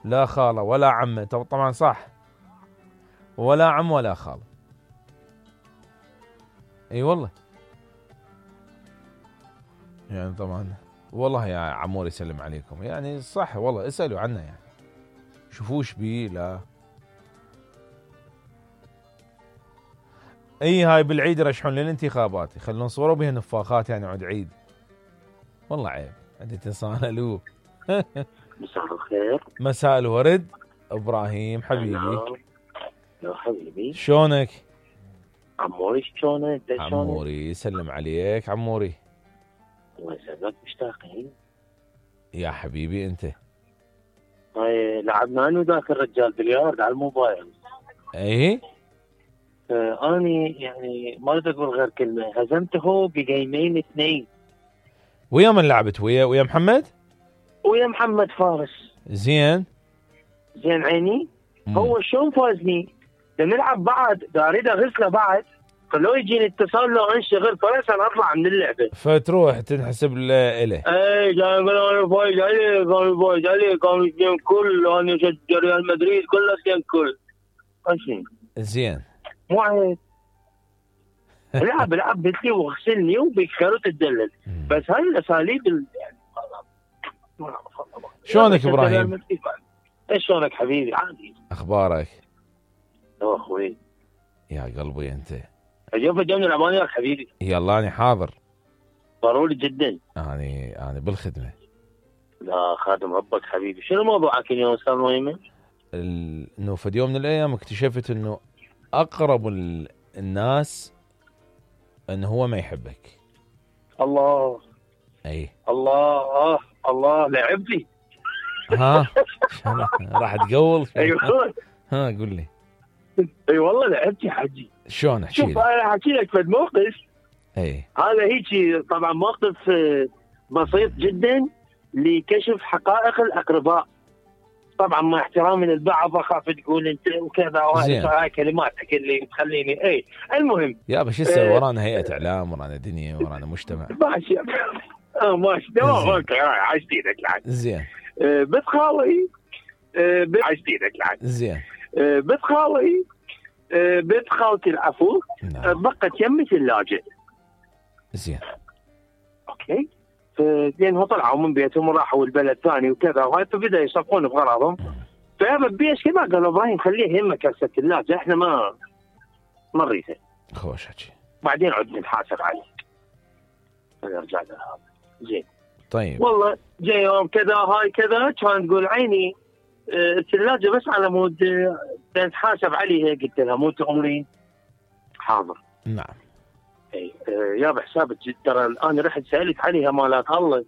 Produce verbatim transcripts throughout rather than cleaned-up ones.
لا خالة ولا عمة. طبعا صح، ولا عم ولا خال. اي والله يعني طبعا والله يا عمور يسلم عليكم، يعني صح والله، اسألوا عنه يعني شوفوش بيه. لا اي هاي بالعيد يرشحون للانتخابات، يخلون صوروا بها نفاخات يعني عود عيد. والله عيب عندي تسالوا. مساء الخير. مساء الورد ابراهيم حبيبي. يا حبيبي شلونك؟ عموري شلونك؟ عموري يسلم عليك عموري. الله يسلمك، مشتاقين يا حبيبي انت. هاي لعبنا انا وذاك الرجال بليارد على الموبايل. ايه آه اني يعني ما اريد اقول غير كلمه، هزمته بجيمين اثنين. ويا من لعبت؟ ويا ويا محمد؟ ويا محمد فارس. زين زين عيني. مم. هو شلون فازني؟ نلعب بعد، دا اريد اغسله بعد، فلو يجيني اتصال لو انشغل فرصه اطلع من اللعبه، فتروح تنحسب له. اي كان يقول انا فايز عليه، كان فايز عليه، كان اثنين كل، انا شجع ريال مدريد كله اثنين كل. ماشي زين مو عيب. العب العب بتلي واغسلني وبيكسروا تدلل، بس هاي الاساليب يعني شلونك ابراهيم؟ ايش شلونك حبيبي؟ عادي. اخبارك؟ يا اخوي يا قلبي انت. اليوم جاي نلعب وياك حبيبي. يلا اني حاضر. ضروري جدا. اني انا بالخدمه. لا خادم ربك حبيبي. شنو موضوعك اليوم استاذ مهيمن؟ انه في يوم من الايام اكتشفت انه اقرب الناس انه هو ما يحبك. الله. اي الله الله لعبتي. ها راح تقول؟ ايوه ها قول لي. اي والله لعبتي حجي. شلون احكي لي؟ شوف انا احكي لك في موقف. اي هذا هيك طبعا موقف بسيط جدا لكشف حقائق الاقرباء. طبعا مع احترامي للبعض اخاف تقول انت وكذا، وهاي كلماتك اللي تخليني اي. المهم يا بس يصير اه ورانا هيئه اعلام، ورانا دنيا، ورانا مجتمع. ماشي اه ماشي تمام اوكي عايش ايدك لعن. زين. آه بنت خالي آه عايش ايدك لعن. زين. آه بنت خالي آه بنت خالتي العفو آه بقت يمي ثلاجه. زين. اوكي. لانهم طلعوا من بيتهم وراحوا البلد ثاني وكذا، وهاي فبدا يصفون بغراضهم. فهذا بيش كذا قال ابراهيم خليه يمك هسه الثلاجه، احنا ما ما نريده. خوش حكي. بعدين عد نحاسب عليه. نرجع له هذا. زين. طيب. والله جاي يوم كذا هاي كذا كان تقول عيني اه الثلاجه بس على مود اه نتحاسب عليها. قلت لها مو تأمرين؟ حاضر. نعم. اي اه يا بحسابك ترى انا رحت سالت عليها مالات الله.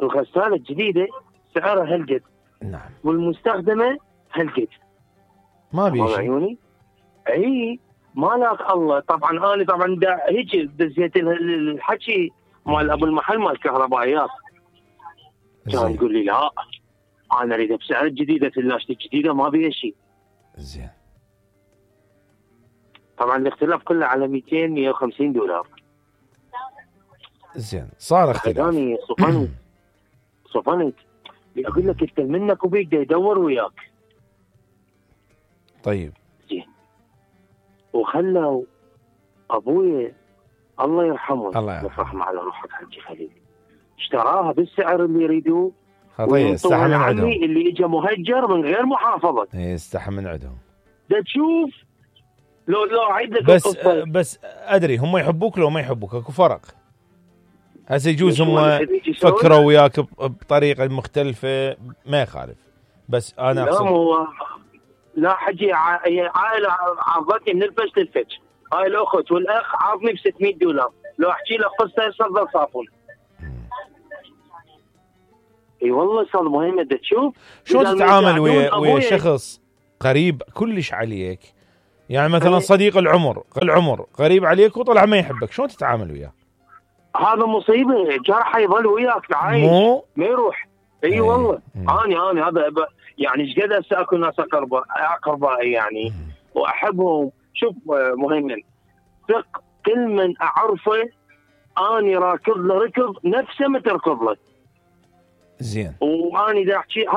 الغساله الجديده سعرها هالقد. نعم. والمستخدمه هالقد. ما بيشي. عيوني. اي مالك الله. طبعا انا طبعا هيك دزيت الحكي مال ابو المحل مال الكهربائيات. كان يقول لي لا انا اريد بسعر الجديده، ثلاجتي الجديده ما بيها شيء. زين. طبعا الاختلاف كله على مئتين مئة وخمسين دولار. زين صار اختلاف. ثاني صفنت صفنت اقول لك انت منك وبيك يدور وياك. طيب. زين. وخلوا ابويا الله يرحمه الله يرحمه على روحك حجي خليل اشتراها بالسعر اللي يريدوه. خطيه استحى من عندهم. اللي اجى مهجر من غير محافظه. اي استحى من عندهم. ده تشوف لو لو اعيد لك بس القصة. بس ادري هم يحبوك لو ما يحبوك اكو فرق. هسه يجوز هم فكروا وياك بطريقه مختلفه ما يخالف، بس انا اقصد لا هو لا حجي عائله عرضتني من الفش للفش. هاي الاخت والاخ عاطني ب ستمئة دولار. لو احكي لك قصه يصدر صافون. اي والله صار مهم. ده تشوف شو تتعامل ويا ويا شخص قريب كلش عليك، يعني مثلا أي. صديق العمر العمر قريب عليك وطلع ما يحبك، شلون تتعامل وياه؟ هذا مصيبه. جرح يظل وياك عايش مو ما يروح. اي أي. والله انا انا هذا يعني ايش قد هسه اكو ناس اقرباء اقربائي يعني مم. واحبهم. شوف مهيمن ثق كل من اعرفه اني راكض له ركض نفسه ما تركض له. زين. واني دا احكي